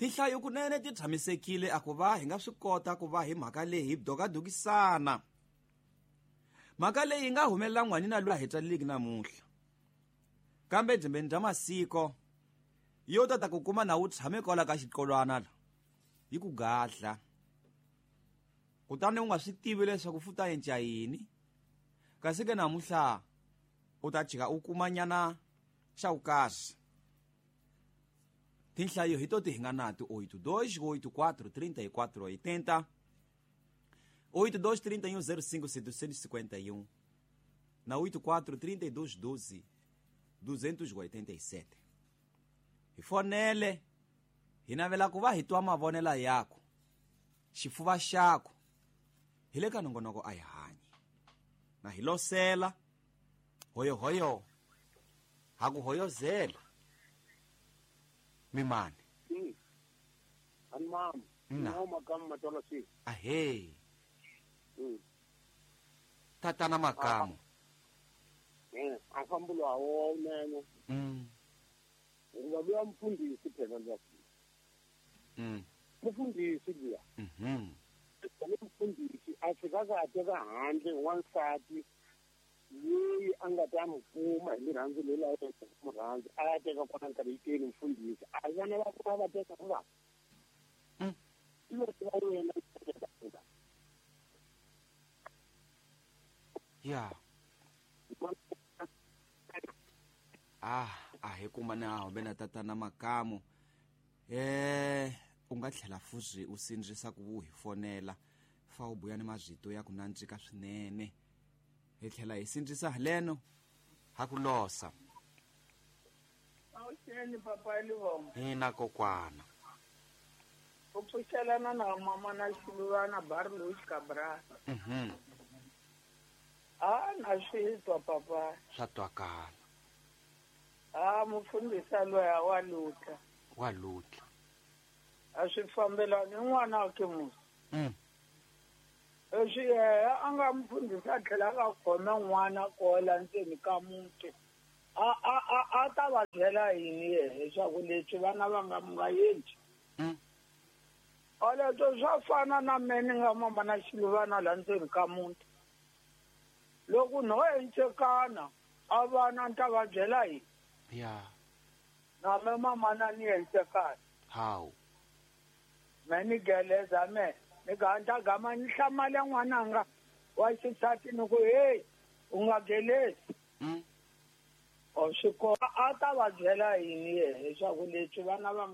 Tinhlayo kunene ti tshamisekile a ku va hi nga swi kota ku va hi mhaka leyi hi dokadokisana. Mhaka leyi yi nga humelela n'wanina loyi a hi tswaleliki namuntlha. Kambe dzembeni bya masiko yo ta ta ku kuma na wu tshame kwala ka xiqolwana la yi ku gadla. Kutani u nga swi tivi leswaku futa yenca yini. Kasi ke namuntlha u ta jika u kuma nyana xa vukahle. Tinhlayo hi to ti hi nga nato 82 84 34 80 82 31 05 751 na 84 32 12 287. Hi fonele hi navela ku va hi twa mavonelo yakho, xifuva xakho hi le ka nongonoko a hi hanyi na hi losela hoyohoyo ha ku hoyozela mimani. Ani mama. Nna. No makamu matola si. Ahee. Tatana Makamu. A fambulo a wo nene. Ngoba luya mfundisi phela luya. Mfundisi luya. Mfundisi a fika ka teka handle wansati loyi a nga ta n'wi kuma hi rirhandzu leri a n'wi rhandza a ya teka kona nkarhi yikeni mfundhisi a vana va kona va teka va va yena ya a hi kuma na humbe na tatana Makamu. U nga tlhela fuzi u sindzisa ku wu hi fonela fa u buya ni mazito ya ku nandzika swinene. Hi tlhela hi sindzisa haleno ha ku losa. Awuxeni papa Livongo. Hina kokwana. U pfuxelana na mama na Xiluvana Barlow Cabral. A na swi twa papa. Swa twakala. A mufundhisi loyi wa lutla. Wa lutla. A swi fambelani n'wana wa ke musi. Leswi yena a nga mufundhisi a tlhela a khoma n'wana kola ndzeni ka muti. A ta va byela yini yena leswaku leswi vana va nga mu nga endli. Oleswo swa fana na me ni nga mama na Xiluvana la ndzeni ka muti. Loko no encekana a vana ni ta va byela yini? Ya. Na me mama na ni encekana. Hawu. Me ni geleza me. Ni ganta gama ni hlamale n'wananga wa xisati ni ku hey u nga gelezi. O swi a ta va byela yini yena leswaku leswi vana va